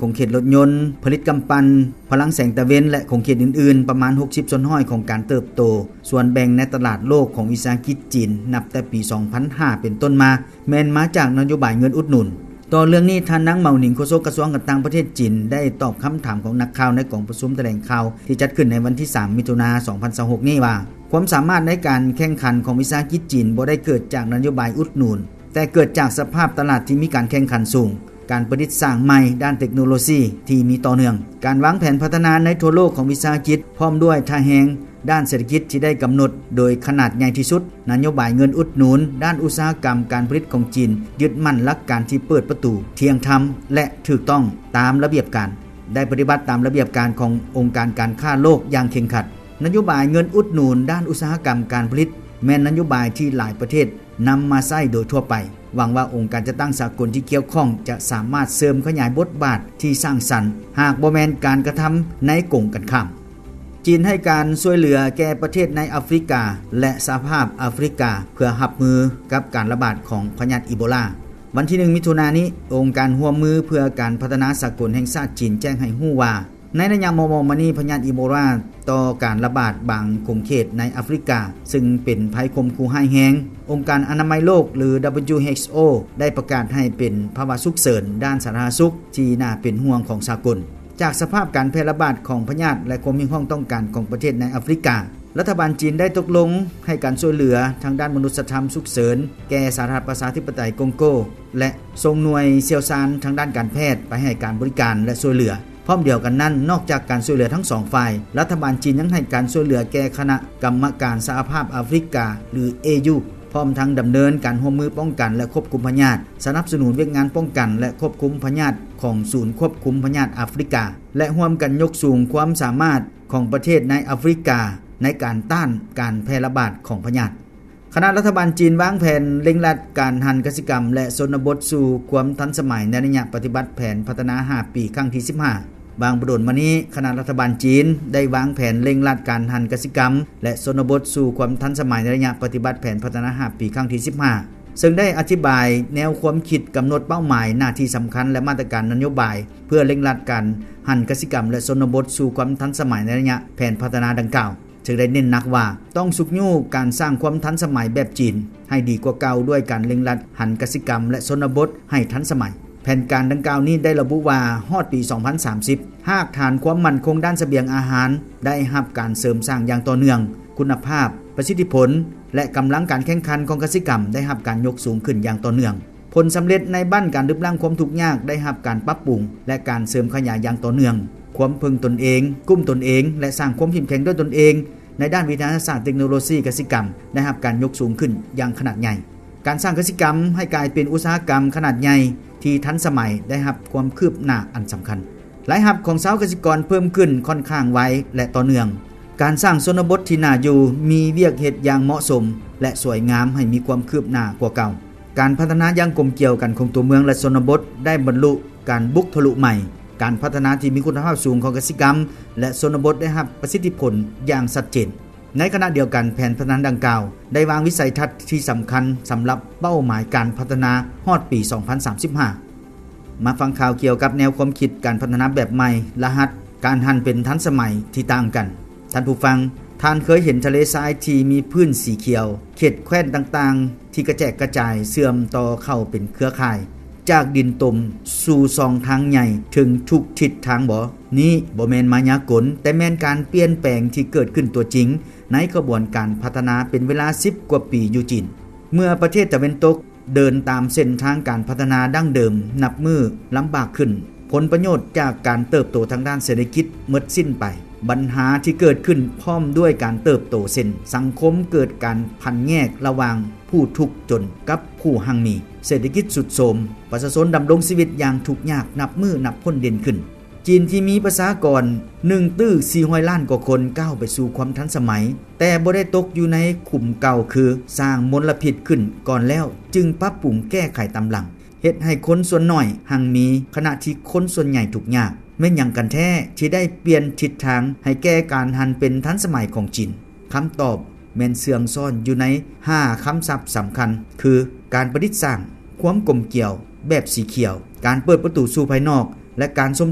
ຂົງເຂດລົດຍົນ, ຜະລິດກຳປັ່ນ, ພະລັງແສງຕາເວັນ ແລະ ຂົງເຂດອື່ນໆ ປະມານຫົກສິບສ່ວນຮ້ອຍຂອງການເຕີບໂຕ. ສ່ວນແບ່ງໃນຕະຫຼາດໂລກຂອງວິສາຫະກິດຈີນ ນັບແຕ່ປີສອງພັນຫ້າເປັນຕົ້ນມາ ແມ່ນມາຈາກນະໂຍບາຍເງິນອຸດໜູນ. ຕໍ່ເລື່ອງນີ້, ທ່ານ ນາງ ເໝົາໜິງ ໂຄສົກກະຊວງການຕ່າງປະເທດຈີນ ໄດ້ຕອບຄຳຖາມຂອງນັກຂ່າວໃນກອງປະຊຸມຖະແຫຼງຂ່າວທີ່ຈັດຂຶ້ນໃນວັນທີສາມ ມິຖຸນາ ສອງພັນຊາວຫົກນີ້ວ່າ, ຄວາມສາມາດໃນການແຂ່ງຂັນຂອງວິສາຫະກິດຈີນບໍ່ໄດ້ເກີດຈາກນະໂຍບາຍອຸດໜູນ, ແຕ່ເກີດຈາກສະພາບຕະຫຼາດທີ່ມີການແຂ່ງຂັນສູງ, ການປະດິດສ້າງໃໝ່ດ້ານເຕັກໂນໂລຊີທີ່ມີຕໍ່ເນື່ອງ, ການວາງແຜນພັດທະນາໃນທົ່ວໂລກຂອງວິສາຫະກິດ ພ້ອມດ້ວຍທ່າແຮງ ດ້ານເສດຖະກິດທີ່ໄດ້ກຳນົດໂດຍຂະໜາດໃຫຍ່ທີ່ສຸດ, ນະໂຍບາຍເງິນອຸດໜູນດ້ານອຸດສາຫະກຳການຜະລິດຂອງຈີນ ຍຶດໝັ້ນຫຼັກການທີ່ເປີດປະຕູ, ທ່ຽງທຳ ແລະ ຖືກຕ້ອງຕາມລະບຽບການ, ໄດ້ປະຕິບັດຕາມລະບຽບການຂອງອົງການການຄ້າໂລກຢ່າງເຄັ່ງຄັດ. ນະໂຍບາຍເງິນອຸດໜູນດ້ານອຸດສາຫະກຳການຜະລິດ ແມ່ນນະໂຍບາຍທີ່ຫຼາຍປະເທດນຳມາໃຊ້ໂດຍທົ່ວໄປ. ຫວັງວ່າອົງການຈັດຕັ້ງສາກົນທີ່ກ່ຽວຂ້ອງຈະສາມາດເສີມຂະຫຍາຍບົດບາດທີ່ສ້າງສັນ, ຫາກບໍ່ແມ່ນການກະທຳໃນກົງກັນຂ້າມ. ຈີນໃຫ້ການຊ່ວຍເຫຼືອແກ່ປະເທດໃນອາຟຣິກາ ແລະ ສະຫະພາບອາຟຣິກາ ເພື່ອຮັບມືກັບການລະບາດຂອງພະຍາດອີໂບລາ. ວັນທີໜຶ່ງ ມິຖຸນານີ້, ອົງການຮ່ວມມືເພື່ອການພັດທະນາສາກົນແຫ່ງຊາດຈີນແຈ້ງໃຫ້ຮູ້ວ່າ, ໃນໄລຍະມໍ່ໆມານີ້, ພະຍາດອີໂບລາຕໍ່ການລະບາດບາງຂົງເຂດໃນອາຟຣິກາ, ຊຶ່ງເປັນໄພຂົ່ມຂູ່ຮ້າຍແຮງ. ອົງການອະນາໄມໂລກ ຫຼື WHO ໄດ້ປະກາດໃຫ້ເປັນພາວະສຸກເສີນດ້ານສາທາລະນະສຸກທີ່ໜ້າເປັນຫ່ວງຂອງສາກົນ. ຈາກສະພາບການແຜ່ລະບາດຂອງພະຍາດ ແລະ ຄວາມຮຽກຮ້ອງຕ້ອງການຂອງປະເທດໃນອາຟຣິກາ, ລັດຖະບານຈີນໄດ້ຕົກລົງໃຫ້ການຊ່ວຍເຫຼືອທາງດ້ານມະນຸດສະທຳສຸກເສີນແກ່ສາທາລະນະລັດປະຊາທິປະໄຕກົງໂກ ແລະ ສົ່ງໜ່ວຍຊ່ຽວຊານທາງດ້ານການແພດໄປໃຫ້ການບໍລິການ ແລະ ຊ່ວຍເຫຼືອ. ພ້ອມດຽວກັນນັ້ນ, ນອກຈາກການຊ່ວຍເຫຼືອທັງສອງຝ່າຍ, ລັດຖະບານຈີນຍັງໃຫ້ການຊ່ວຍເຫຼືອແກ່ຄະນະກຳມະການສະຫະພາບອາຟຣິກາ ຫຼື ເອຢູ ພ້ອມທັງດຳເນີນການຮ່ວມມືປ້ອງກັນ ແລະ ຄວບຄຸມພະຍາດ, ສະໜັບສະໜູນວຽກງານປ້ອງກັນ ແລະ ຄວບຄຸມພະຍາດຂອງສູນຄວບຄຸມພະຍາດອາຟຣິກາ ແລະ ຮ່ວມກັນຍົກສູງຄວາມສາມາດຂອງປະເທດໃນອາຟຣິກາໃນການຕ້ານການແຜ່ລະບາດຂອງພະຍາດ. ຄະນະລັດຖະບານຈີນວາງແຜນເລັ່ງລັດການຫັນກະສິກຳ ແລະ ຊົນນະບົດສູ່ຄວາມທັນສະໄໝໃນໄລຍະປະຕິບັດແຜນພັດທະນາຫ້າປີຄັ້ງທີສິບຫ້າ. ຫວ່າງບໍ່ດົນມານີ້, ຄະນະລັດຖະບານຈີນໄດ້ວາງແຜນເລັ່ງລັດການຫັນກະສິກຳ ແລະ ຊົນນະບົດສູ່ຄວາມທັນສະໄໝໃນໄລຍະປະຕິບັດແຜນພັດທະນາຫ້າປີຄັ້ງທີສິບຫ້າ, ເຊິ່ງໄດ້ອະທິບາຍແນວຄວາມຄິດ, ກຳນົດເປົ້າໝາຍ, ໜ້າທີ່ສຳຄັນ ແລະ ມາດຕະການນະໂຍບາຍ ເພື່ອເລັ່ງລັດການຫັນກະສິກຳ ແລະ ຊົນນະບົດສູ່ຄວາມທັນສະໄໝໃນໄລຍະແຜນພັດທະນາດັ່ງກ່າວ. ເຊິ່ງໄດ້ເນັ້ນໜັກວ່າ ຕ້ອງຊຸກຍູ້ການສ້າງຄວາມທັນສະໄໝແບບຈີນໃຫ້ດີກວ່າເກົ່າ ດ້ວຍການເລັ່ງລັດຫັນກະສິກຳ ແລະ ຊົນນະບົດໃຫ້ທັນສະໄໝ. ແຜນການດັ່ງກ່າວນີ້ໄດ້ລະບຸວ່າ ຮອດປີສອງພັນສາມສິບ, ຮາກຖານຄວາມໝັ້ນຄົງດ້ານສະບຽງອາຫານໄດ້ຮັບການເສີມສ້າງຢ່າງຕໍ່ເນື່ອງ, ຄຸນນະພາບ, ປະສິດທິຜົນ ແລະ ກຳລັງການແຂ່ງຂັນຂອງກະສິກຳໄດ້ຮັບການຍົກສູງຂຶ້ນຢ່າງຕໍ່ເນື່ອງ. ຜົນສຳເລັດໃນບັ້ນການລຶບລ້າງຄວາມທຸກຍາກໄດ້ຮັບການປັບປຸງ ແລະ ການເສີມຂະຫຍາຍຢ່າງຕໍ່ເນື່ອງ. ຄວາມເພິ່ງຕົນເອງ, ກຸ້ມຕົນເອງ ແລະ ສ້າງຄວາມເຂັ້ມແຂງດ້ວຍຕົນເອງໃນດ້ານວິທະຍາສາດເຕັກໂນໂລຊີກະສິກຳ ໄດ້ຮັບການຍົກສູງຂຶ້ນຢ່າງຂະໜາດໃຫຍ່. ການສ້າງກະສິກຳໃຫ້ກາຍເປັນອຸດສາຫະກຳຂະໜາດໃຫຍ່ທີ່ທັນສະໄໝ ໄດ້ຮັບຄວາມຄືບໜ້າອັນສຳຄັນ. ລາຍຮັບຂອງຊາວກະສິກອນເພີ່ມຂຶ້ນຂ້ອນຂ້າງໄວ ແລະ ຕໍ່ເນື່ອງ. ການສ້າງຊົນນະບົດທີ່ໜ້າຢູ່, ມີວຽກເຮັດຢ່າງເໝາະສົມ ແລະ ສວຍງາມໃຫ້ມີຄວາມຄືບໜ້າກວ່າເກົ່າ. ການພັດທະນາຢ່າງກົມກຽວກັນຂອງຕົວເມືອງ ແລະ ຊົນນະບົດໄດ້ບັນລຸການບຸກທະລຸໃໝ່. ການພັດທະນາທີ່ມີຄຸນນະພາບສູງຂອງກະສິກຳ ແລະ ຊົນນະບົດໄດ້ຮັບປະສິດທິຜົນຢ່າງຊັດເຈນ. ໃນຂະນະດຽວກັນ, ແຜນພັດທະນາດັ່ງກ່າວໄດ້ວາງວິໄສທັດທີ່ສຳຄັນສຳລັບເປົ້າໝາຍການພັດທະນາຮອດປີສອງພັນສາມສິບຫ້າ. ມາຟັງຂ່າວກ່ຽວກັບແນວຄວາມຄິດການພັດທະນາແບບໃໝ່, ລະຫັດການຫັນເປັນທັນສະໄໝທີ່ຕ່າງກັນ. ທ່ານຜູ້ຟັງ, ທ່ານເຄີຍເຫັນທະເລຊາຍທີ່ມີພື້ນສີຂຽວ, ເຂດແຄວ້ນຕ່າງໆທີ່ກະແຈກກະຈາຍເຊື່ອມຕໍ່ເຂົ້າເປັນເຄືອຂ່າຍ, ຈາກດິນຕົມສູ່ຊ່ອງທາງໃຫຍ່ເຖິງທຸກທິດທາງບໍ? ນີ້ບໍ່ແມ່ນມາຍາກົນ, ແຕ່ແມ່ນການປ່ຽນແປງທີ່ເກີດຂຶ້ນຕົວຈິງໃນຂະບວນການພັດທະນາເປັນເວລາສິບກວ່າປີຢູ່ຈີນ. ເມື່ອປະເທດຕາເວັນຕົກ ເດີນຕາມເສັ້ນທາງການພັດທະນາດັ້ງເດີມນັບມື້ລຳບາກຂຶ້ນ, ຜົນປະໂຫຍດຈາກການເຕີບໂຕທາງດ້ານເສດຖະກິດໝົດສິ້ນໄປ. ບັນຫາທີ່ເກີດຂຶ້ນພ້ອມດ້ວຍການເຕີບໂຕ ເຊັ່ນ ສັງຄົມເກີດການພັນແຍກລະຫວ່າງຜູ້ທຸກຈົນກັບຜູ້ຮັ່ງມີ, ເສດຖະກິດຊຸດໂຊມ, ປະຊາຊົນດຳລົງຊີວິດຢ່າງທຸກຍາກນັບມື້ນັບຄົນເດັ່ນຂຶ້ນ. ຈີນທີ່ມີປະຊາກອນໜຶ່ງຕື້ສີ່ຮ້ອຍລ້ານກວ່າຄົນ ກ້າວໄປສູ່ຄວາມທັນສະໄໝ, ແຕ່ບໍ່ໄດ້ຕົກຢູ່ໃນຂຸມເກົ່າ ຄືສ້າງມົນລະພິດຂຶ້ນກ່ອນແລ້ວ ຈຶ່ງປັບປຸງແກ້ໄຂຕາມຫຼັງ, ເຮັດໃຫ້ຄົນສ່ວນໜ້ອຍຮັ່ງມີ ຂະນະທີ່ຄົນສ່ວນໃຫຍ່ທຸກຍາກ. ແມ່ນຫຍັງກັນແທ້ທີ່ໄດ້ປ່ຽນທິດທາງໃຫ້ແກ່ການຫັນເປັນທັນສະໄໝຂອງຈີນ? ຄຳຕອບແມ່ນເຊື່ອງຊ້ອນຢູ່ໃນຫ້າຄຳສັບສຳຄັນ ຄື ການປະດິດສ້າງ, ຄວາມກົມກຽວແບບສີຂຽວ, ການເປີດປະຕູສູ່ພາຍນອກ, ແລະ ການຊົມ